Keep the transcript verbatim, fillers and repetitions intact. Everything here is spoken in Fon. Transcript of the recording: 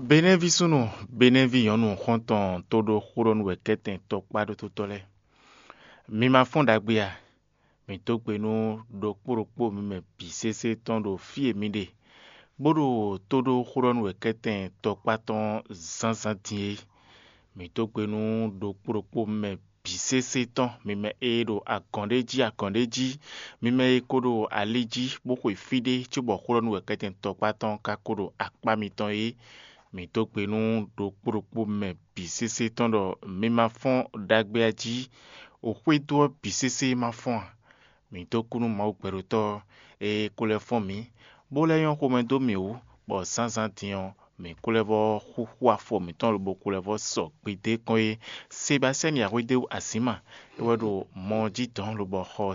Benɛ́ví súnnu, Benɛ́ví nyɔ̌nu xɔ́ntɔn tóɖó xóɖɔ́núwɛkɛ́tɛn tɔkpá ɖótótɔ́ lɛ́ɛ, mi ma fɔ́n ɖagbe a? Mǐ dó gbe nú ɖokpó ɖokpó mi mɛ bǐ sésé tɔn ɖo fí e mi ɖe, bó ɖo tóɖó xóɖɔ́núwɛkɛ́tɛn tɔkpá tɔn zǎnzǎn din é. Mǐ dó gbe nú ɖokpó ɖokpó mi mɛ bǐ sésé tɔn, mi mɛ e ɖo agɔ̌n ɖé jí agɔ̌n ɖé jí, mi mɛ e ko ɖo ali jí bó xwe fí ɖé cóbɔ xóɖɔ́núwɛkɛ́tɛn tɔkpá tɔn ka ko ɖo akpá mitɔn é. Mǐ dó gbe nú ɖokpó ɖokpó mɛ bǐ sésé tɔn ɖɔ mi ma fɔ́n ɖagbe a jí, o xwédo ɔ́ bǐ sésé ma fɔ́n a? Mǐ dó kú nú Mawu gbɛɖotɔ́ e ko lɛ́ fɔ́n mǐ, bó lɛ́ nyɔ́ xomɛ dó mǐ wú, bɔ zǎnzǎn din ɔ́, mǐ ko lɛ́ vɔ́ xúxú afɔ mǐtɔn lobo ko lɛ́ vɔ́ sɔ gbedé kɔn é. Sebastiyani Axwédéwu Azǐma é wɛ ɖo mɔ ɔ́ jí dɔ̌n lobo xɔ